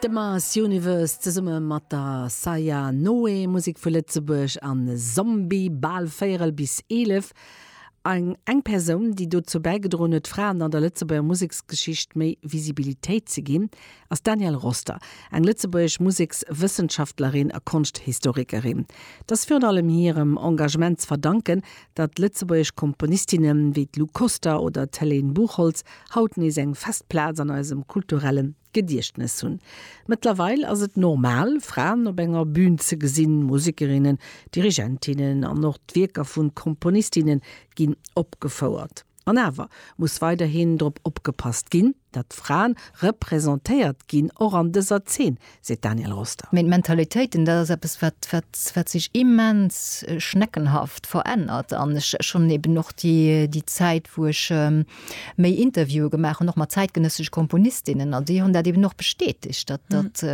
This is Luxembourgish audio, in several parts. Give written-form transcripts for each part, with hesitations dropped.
De Mars Universe zesumme mat der Saya Noé, Musek vu Lëtzebuerg an Zombie, bal véierel bis 11. Eng eng Persoun, déi dozou bäigedroen huet, Fraen an der Lëtzebuerger Museksgeschicht méi Visibilitéit ze ginn, ass d'Danièle Roster, eng lëtzebuergesch Musekswëssenschaftlerin a Konschthistorikerin. Et ass virun allem hirem Engagement ze verdanken, datt lëtzebuergesch Komponistinne wéi d'Lou Koster oder d'Helene Buchholtz haut nees eng fest Plaz an eisem kulturelle Gediechtnes hunn. Mëttlerweil ass et normal, Fraen op enger Bün ze gesinn, Musekerinnen, Dirigentinnen an och d'Wierker vu Komponistinne ginn opgefouert. An awer muss weiderhin drop opgepasst ginn, datt Fraen representéiert ginn, och an dëser Zeen, seet d'Danièle Roster. Mee d'Mentalitéiten, dat ass eppes, wat, wat, wat sech immens schneckenhaft verännert. An ech schonn eben och déi, déi Zäit, wou ech méi Interviewe gemaach hunn, och mat zäitgenëssesche Komponistinnen, an déi hunn dat eben och bestätegt, datt, datt,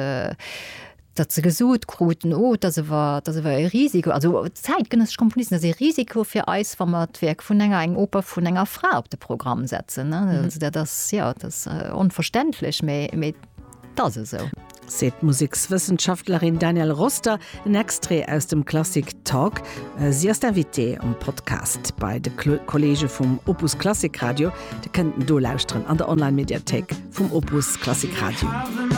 datt se gesot kruten, oh, et ass awer, et ass awer e Risiko, also zäitgenëssesch Komponisten, et ass e Risiko fir eis, wa mer d'Wierk vun enger, eng Oper vun enger Fra op de Programm setzen. Also dat ass, jo, dat ass onverständlech, mä, mä et ass esou. Seet d'Musekswëssenschaftlerin Danièle Roster. En Extrait aus dem Klassik Talk. Si ass d'Invitée um Podcast bei de Kolleege vum Opus Klassik Radio. Dir kënnt en do lauschteren an der Online-Mediathéik vum Opus Klassik Radio.